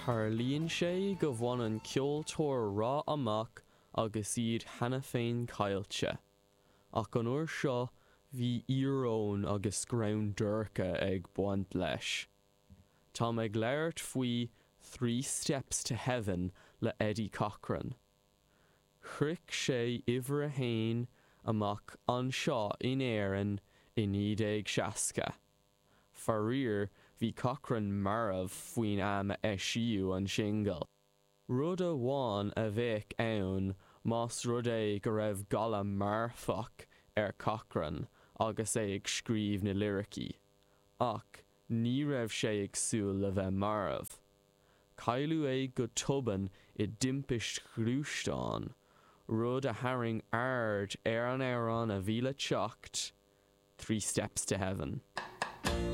Tarlaíonn sé go bhaineann ceoltóir rath amach agus iad cheana féin caillte. Ach an uair seo bhí íoróin agus greann dorcha ag baint leis. Táim ag labhairt faoi Three Steps to Heaven le Eddie Cochran. Shroich sé uimhir a haon amach anseo in Éirinn i 1960. Faraor, bhí Cochran marbh faoin am a eisíodh an singil. Rud amháin a bheadh ann más rud é go raibh galar marfach ar Cochran agus é ag scríobh na liricí. Ach ní raibh sé ag súil le bheith marbh. Cailleadh é go tobann i dtimpist ghluaisteáin, rud a tharraing aird ar an amhrán a bhí le teacht, Three Steps to Heaven.